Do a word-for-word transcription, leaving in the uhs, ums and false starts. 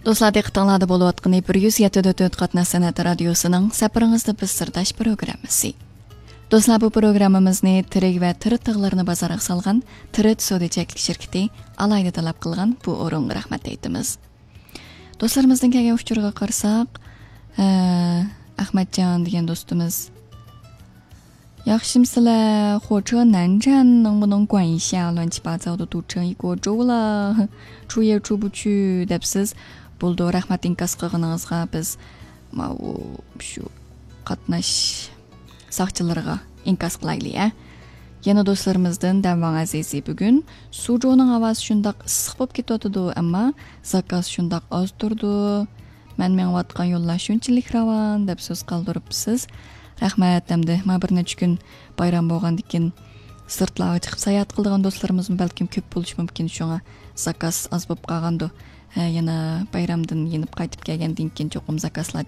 دوستلار، دىققىتىڭلاردا بولۇۋاتقىنى بىر يۈز يەتتە نۇقتا تۆت قاتناش سەنئەت رادىيوسىنىڭ سەپىرىڭىزدە بىز سىرداش پروگراممىسى. دوستلار، بۇ پروگراممىمىزنى تىرىك ۋە تىرىت تاغلىرىنى بازارغا سالغان تىرىت سودا چەكلىك شىركىتى ئالاھىدە تەلەپ قىلغان بۇ ئورۇنغا رەھمەت ئېيتىمىز. دوستلىرىمىزدىن كەلگەن ئۇچۇرغا قارىساق، ئە، ئەخمەتجان دېگەن دوستىمىز، ياخشىمسىلەر؟ 火车南站能不能管一下，乱七八糟的堵成一锅粥了，出也出不去 دەپسىز. بولىدۇ، رەھمەت ئىنكاس قىلغىنىڭىزغا. بىز ماۋۇ شۇ قاتناش ساقچىلىرىغا ئىنكاس قىلايلى، ھە. يەنە دوستلىرىمىزدىن دەمۋاڭ ئەزىزى بۈگۈن سۇجۇنىڭ ھاۋاسى شۇنداق ئىسسىق بولۇپ كېتىۋاتىدۇ، ئەمما زاكاز شۇنداق ئاز تۇرىدۇ. مەن مېڭىۋاتقان يوللار شۇنچىلىك راۋان دەپ سۆز قالدۇرۇپسىز. رەھمەت. ئەمدى ما بىر نەچچە كۈن بايرام بولغاندىكىن سىرتلارغا چىقىپ ساياھەت قىلىدىغان دوستلىرىمىزمۇ بەلكىم كۆپ بولۇشى مۇمكىن، شۇڭا زاكاز ئاز بولۇپ قالغاندۇ. ھە، يەنە بايرامدىن يېنىپ قايتىپ كەلگەندىن كېيىن چوقۇم زاكازلار